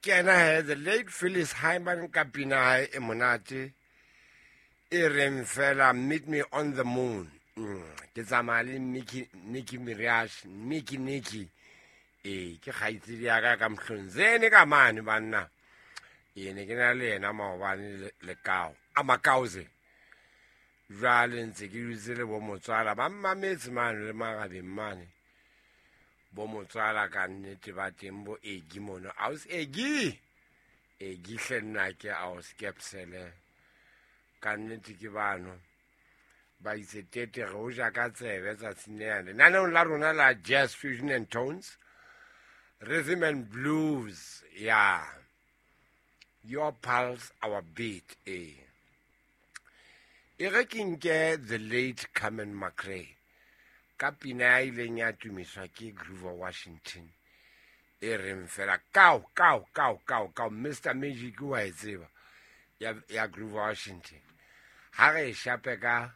Ke ena he, the late Phyllis Hyman ka pina hae e monate e reng fela "Meet Me on the Moon". Ke tsamaya le Nicki, Nicki Minaj, Nicki Nicki. Ee, ke kgaitsedi ya ka ka Mhlonzene ka mane banna. Ee, ne ke na le yena maobane lekao a Makause. Jwale ntse ke dutse le bo motswala ba mmametse mane le magabeng mane. Bo motswala ka nnete ba teng, bo Egi mono. Aus Egi, Egi hle, nna ke aus Kepsele ka nnete. Ke bano ba itse tete re o ja ka tsebe tsatsing lena lenaneong la rona la Jazz Fusion and Tones, Rhythm and Blues ya Your Pulse Our Beat. E e re ke nke the late Carmen McRae ka pina ya ileng ya tumiswa ke Grover Washington e reng fela "Kao kao kao kao kao". Mr Magic wa e tseba ya Grover Washington. Ha re e shape ka